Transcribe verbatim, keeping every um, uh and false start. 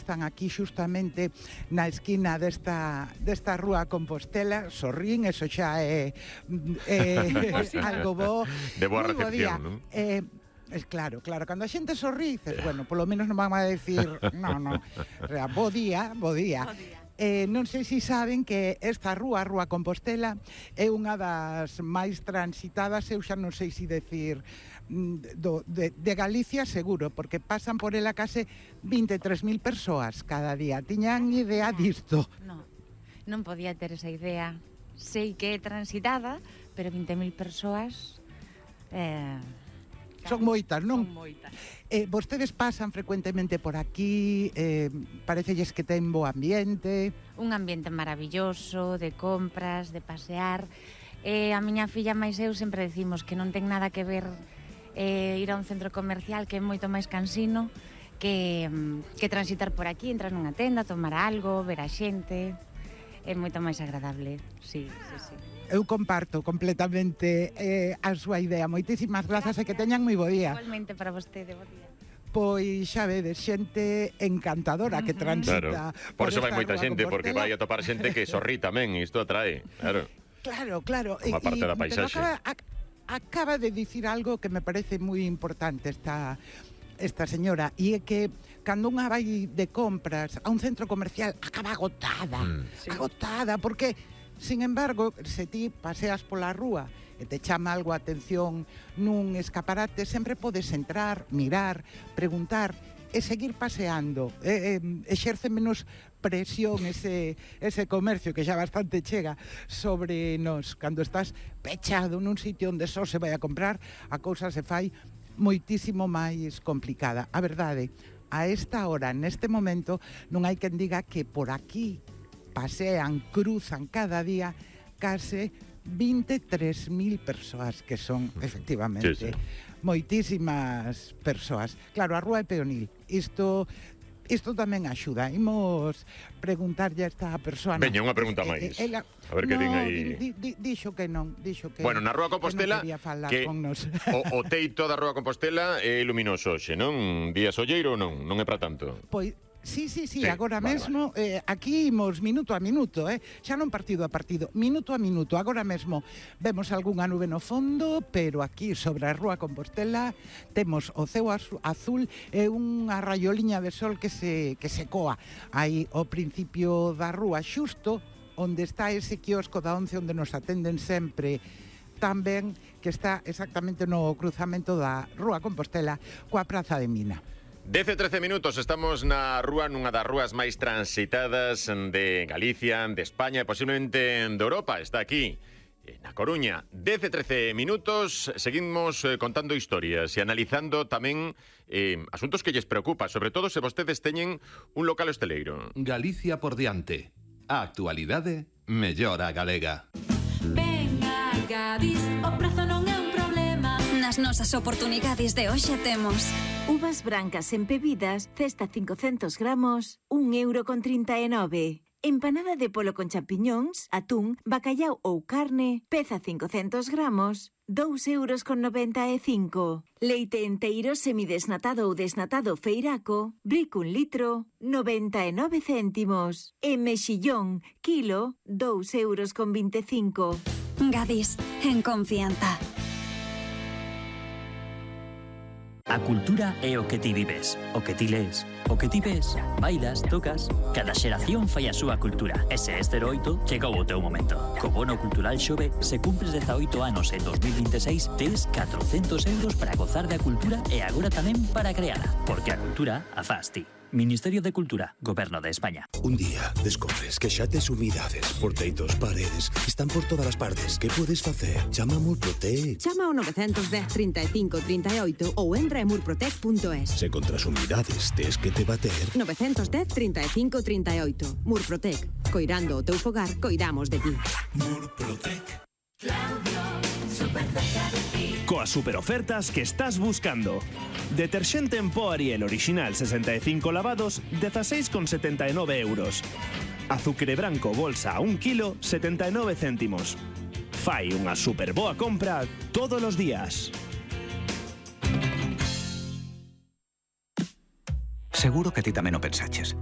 están aquí xustamente na esquina desta, desta rúa Compostela. Sorrín, eso xa é, é algo bo. De boa Moi bo día. recepción, non? Eh, Es claro, claro, cando a xente sorrí, dices, bueno, polo menos non van a decir, no, no, o sea, bo día, bo día. Bo día. Eh, non sei se saben que esta rúa, a Rúa Compostela, é unha das máis transitadas, eu xa non sei se decir, do, de, de Galicia seguro, porque pasan por ela case vinte e tres mil persoas cada día. Tiñan idea disto? Non, non podía ter esa idea. Sei que é transitada, pero vinte mil persoas... Eh... Son moitas, non? Son moitas. Eh, vostedes pasan frecuentemente por aquí, eh, parecelles que ten bo ambiente. Un ambiente maravilloso, de compras, de pasear. Eh, a miña filla máis eu sempre decimos que non ten nada que ver eh, ir a un centro comercial, que é moito máis cansino, que, que transitar por aquí, entrar nunha tenda, tomar algo, ver a xente. É moito máis agradable, sí, sí, sí. Eu comparto completamente eh, a súa idea. Moitísimas grazas e que teñan moi bo día. Igualmente para vostede, bo día. Pois xa vedes, xente encantadora que transita. Claro. Por iso vai moita xente, porque vai a topar xente que sorrí tamén, e isto atrae, claro. Claro, claro. Como parte da paisaxe. Acaba, a, acaba de dicir algo que me parece moi importante esta, esta señora, e é que cando unha vai de compras a un centro comercial acaba agotada, mm. sí. agotada, porque... Sin embargo, se ti paseas pola rúa e te chama algo a atención nun escaparate, sempre podes entrar, mirar, preguntar e seguir paseando. E, e, exerce menos presión ese, ese comercio que xa bastante chega sobre nos. Cando estás pechado nun sitio onde só se vai a comprar, a cousa se fai moitísimo máis complicada. A verdade, a esta hora, neste momento, non hai quen diga que por aquí pasean, cruzan cada día case vinte e tres mil persoas, que son, efectivamente, sí, sí. moitísimas persoas. Claro, a rúa é peonil. Isto... Isto tamén axuda. Imos preguntarlle a esta persoa. Veña, unha pregunta máis. Eh, ela... A ver que no, din aí. Di, di, dixo que non, dixo que Bueno, na Rúa Compostela que, non que o, o teito da Rúa Compostela é luminoso hoxe, non? Día solleiro ou non? Non é para tanto. Pois Sí, sí, sí, sí, agora vale, mesmo vale. Eh, aquí imos minuto a minuto, eh? Xa non partido a partido, minuto a minuto. Agora mesmo vemos algunha nube no fondo, pero aquí sobre a Rúa Compostela temos o ceo azul e unha raioliña de sol que se, que se coa aí ao principio da rúa, xusto onde está ese quiosco da once onde nos atenden sempre tamén, que está exactamente no cruzamento da Rúa Compostela coa Praza de Mina. dez e trece minutos, estamos na rúa, nunha das rúas máis transitadas de Galicia, de España e posiblemente de Europa. Está aquí, na Coruña. dez e trece minutos, seguimos eh, contando historias e analizando tamén eh, asuntos que lles preocupa, sobre todo se vostedes teñen un local hosteleiro. Galicia por diante. A actualidade mellora a galega. Venga, Gadis, o prazo non é un problema. Nas nosas oportunidades de hoxe temos uvas brancas empebidas, cesta cincocentos gramos, un euro con trinta e nove. Empanada de polo con champiñóns, atún, bacallau ou carne, peza cincocentos gramos, dous euros con noventa e cinco. Leite enteiro semidesnatado ou desnatado feiraco, brico un litro, noventa e nove céntimos. E mexillón, kilo, dous euros con vinte e cinco. Gadis, en confianza. A cultura é o que ti vives, o que ti lees, o que ti ves, bailas, tocas. Cada xeración fai a súa cultura. E se este oito, chegou o teu momento. Co bono cultural Xove, se cumpres dezaoito anos en dos mil vinte e seis, tes catrocentos euros para gozar da cultura e agora tamén para creala. Porque a cultura a faz ti. Ministerio de Cultura, Goberno de España. Un día descobres que xa tes humidades, porteitos, paredes, están por todas as partes. Que podes facer? Chama a Murprotec. Chama ao nove un cero, trinta e cinco, trinta e oito ou entra en murprotec punto es. Se contra as humidades tes que te bater... nove un cero, trinta e cinco, trinta e oito. Murprotec. Coirando o teu fogar, coidamos de ti. Murprotec. Claudio, super cerca de ti. Coas superofertas que estás buscando. Deterxente en pó Ariel original sesenta e cinco lavados, dezaseis con setenta e nove euros. Azucre branco bolsa a un kilo, setenta e nove céntimos. Fai unha super boa compra todos os días. Seguro que ti tamén o pensaches.